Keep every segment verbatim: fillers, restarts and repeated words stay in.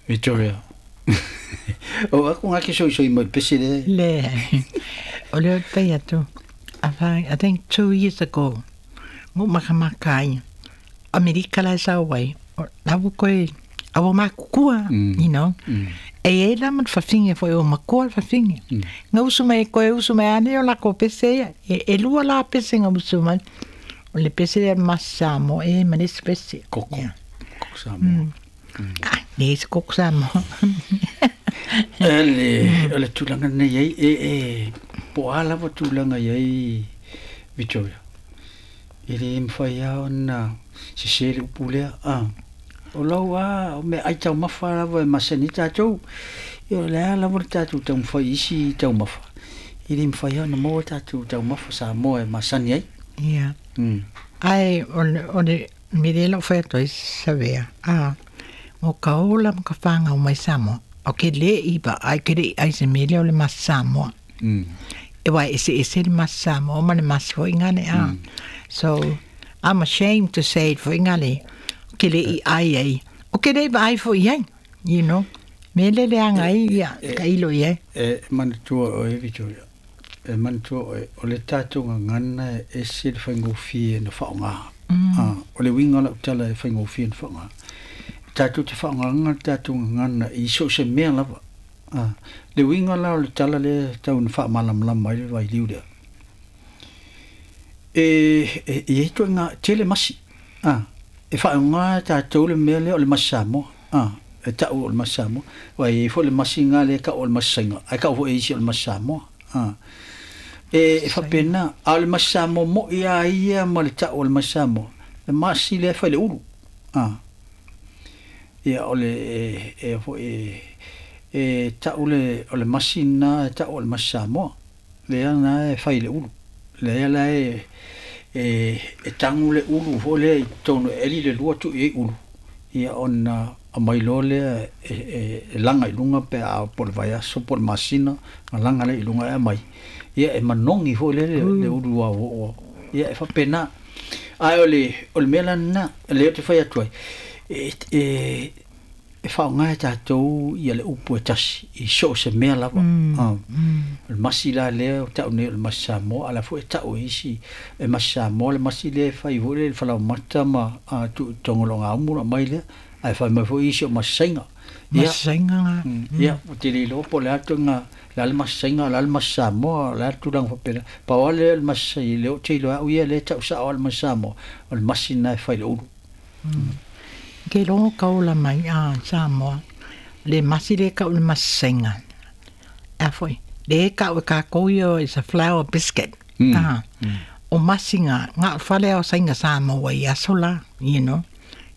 Victoria. O aku ngā ke soi soi mai pese le. Le. O le o atu. I think two years ago, ngo makamaka Amerika la sa wai. La bu koe awa makukua, you know. E e la man fafinge foi o makua fafinge. Nga usu mai koe usu mai ane o la ko pese ia. E, e lua la pese nga usu mai. O le pese le masamo e manis pese. Koko. Yeah. Koko samo. Mm. Ah, ne se koko samo. Ele, o le tulaga nei ai e e po ala wa tulaga ai Victoria. E le mfai ona se se le upulea a. O lau a o me ai tau mafa lava e masani tātou. Ia o le a lava le tātou tau mfai isi tau mafa. E le mfai ona mo tātou tau mafa sa mo e masani ai. Ia. Mm. Ai, o le, o le mire lau whai atoa i sawea. A, mo ka ola mo ka whanga o mai Samoa. O ke le iba, ai ke le ai se mele o le mas Samoa. Mm. E wai ese ese le mas Samoa, ma le mas fo ingane a. Mm. So, I'm ashamed to say it fo ingane. Ke le i ai ai. O ke le iba ai fo iai, you know. Me le le anga ai, ia, ka ilo iai. E manatua o e Victoria. E manatua o e, o le tātou ngana e se le whaingofie na whaonga. Mm. Ah, o le winga la utala e whaingofie na whaonga. Tātou te whaonga tātou ngana i so se mea lava. Ah, le winga la o le tala le tau na whaamalamlama i le vai liu lea. E, e, e e toi ngā tele masi. Ah, e whaonga tātou le mea lea o le masi Samoa. Ah, e tau o le masi Samoa. Wai e fo le masi ngā le ka o le masi sainga. Ai ka o e isi o le masi Samoa. Ah. E, e whapena, a o le masi Samoa mo ia ia ma le tau o le masi Samoa. Le masi le whai le uru. Ah. Ia o le e, e, e, e tau le, o le masi nā e tau o le masi Samoa. Le ana e whai le uru. Le ala e, e, e tangu le uru fo le i tonu eli le lua tu i uru. Ia ona a mai loa lea e, e, e langa i lunga pe a po le vaiaso po le masina a langa le i lunga e mai. Ia e manongi fo le le, le uru a o. Ia e whapena. Ai o le, o le mea lana, le o te whai atu ai. E, e, e whaonga e tātou ia le upu e tasi i so se mea lava. Mm, ah. mm. O le masi la lea, o tau nei o le masi Samoa, ala fo e tau e isi e masi Samoa, le masi lea e whai fo le le whalau mata ma a, tu tongolonga umura mai lea, ai whai mai fo isi o masi sainga. Ia, Masi sainga ngā. mm, ia, o te lilo po le atu ngā, la le masi sainga, la le masi Samoa, la atu lang whapena. Pau ale le masi, le o te ilo au ia le tau sa o le masi Samoa, o le masi nai whai le uru. Mm. Ke longo kaula mai a Samoa, le masi le kau le masi sainga. A foi, le kau e kākou ia is a flour biscuit. Mm. Ah, Mm. o masi ngā, ngā whale o sainga Samoa i asola, you know.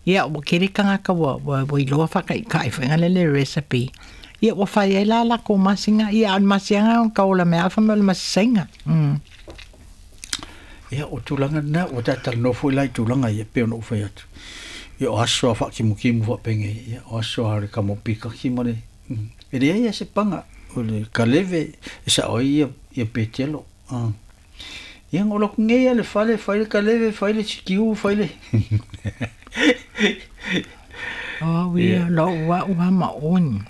Ia, o kere kangaka wa, wa, wa iloa whaka i kai whainga le le recipe. Ia, wa whai e la la ko masi ngā, ia, o masi ngā o kaula mea, awha me o le masi sainga. Mm. Ia, o tulaga na, o tātala no foi lai tulaga ia, pe ona ufai atu. Ia, o aso a whakimukimu whapenge, ia, o aso a re kamo pikaki ma le. Mm. E rea ia se panga, o le kaleve, e sa oi ia, ia petelo. Ah. Ia, ngolo kunge ia le whale, whai le kaleve, whai le sikiu, whai le. O, ia, lo ua ua ma oni.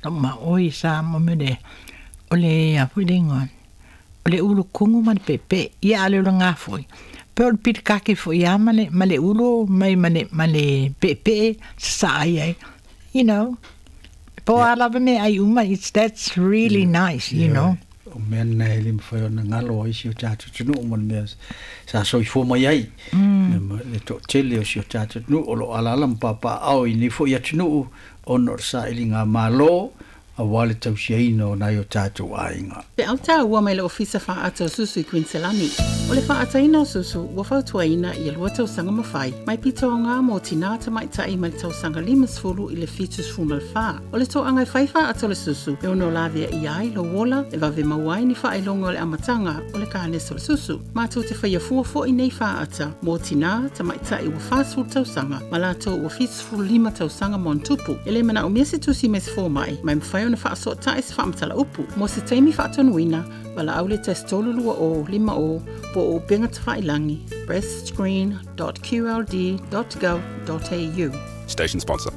Lo ma oi sa mo me le, o le a foi le ingoa. O le ulu kungu ma le pepe, ia ale o le ngā foi. Pe o le pirikake foi ia ma le, ma le ulu, mai ma le, ma le pepe, sa ai ai. You know, po Yeah. a lava me ai uma, it's, that's really Yeah. nice, you Ia, know. O mea nei le mwhai ona ngalo ai si o tātou tunu o mea sa soifua mai ai. Mm. Le, ma- le to tele o si o tātou tunu o lo alala mpapa au i ni fo i atunu ona o sa ili ngā malo a wale tausiaina o nai o tātou ainga. Pe au tā ua mai le ofisa whaata o susu i Queenselani. O le whaataina o susu, ua fautuaina i lua tausaga mawhai. Mai pito o ngā mō tina tamaitai mai le tausaga lima sefulu i le fitu sefulu ma le whā. O le toanga e whai whaata o le susu, e ono lavea i ai lo wola, e vave mauai ni whaelonga o le amatanga o le kānesa o le susu. Mātou te whaia fua fo i nei whaata, mō tina tamaitai ua whāsefulu tausaga, ma lātou ua fitu sefulu lima tausaga mo ntupu. E le mana o mea se tusi me se fōmai, mai mwhai ona whaasotai se whaamatala upu. Mo se taimi whaatonuina, wala au le tasi tolu lua o, lima o, po o upenga tawhailangi, breastscreen dot q l d dot gov dot a u. Station sponsor.